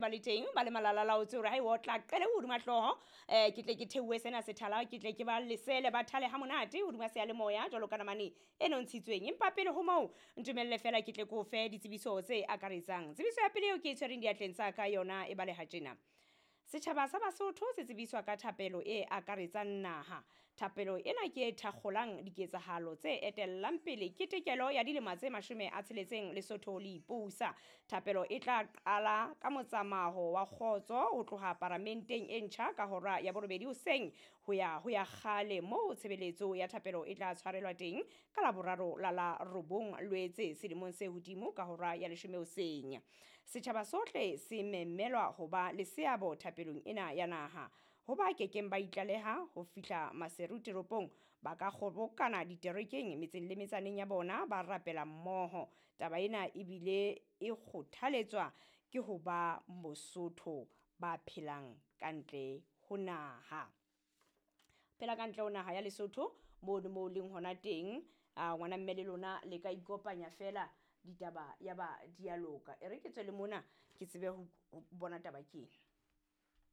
Ba le teng ba le malalalaotse hore ha e otla qele hodima hlooho, ke tle ke theohe sena sethala, ke tle ke ba lesele ba thale ha monate hodima seyalemoya jwalo ka namane e nontshitsweng. Empa pele ho moo, ntumelle fela ke tle ke o fe ditsebiso tse akaretsang. Tsebiso ya pele eo ke e tshwereng diatleng tsa ka yona e baleha tjena. Setjhaba sa Basotho se tsebiswa ka thapelo e akaretsang naha. Thapelo ena ke e thakgolang diketsahalo tse etellang pele ketekelo ya dilemo tse 60 Lesotho le ipusa. Thapelo e tla qala ka motsamaho wa kgotso ho tloha paramenteng e ntjha ka hora ya 8 hoseng ho ya ho ya kgale, moo tshebeletso ya thapelo e tla tshwarelwa teng ka Laboraro la la 9 Lwetse selemong se hodimo ka hora ya 10 hoseng. Setjhaba sohle se memelwa ho ba le seabo thapelong ena ya naha. Ho ba kekeng ba itlaleha ho fihla Maseru toropong, ba ka kgobokana diterekeng metseng le metsaneng ya bona ba rapela mmoho. Taba ena ebile e kgothaletswa ke ho ba Mosotho ba phelang ka ntle ho naha. Phela ka ntle ho naha ya Lesotho mono mo leng hona teng, ngwana mme le lona le ka ikopanya fela ditaba ya ba dialoka. E re ke tswe le mona ke tsebe ho bona taba ke ena.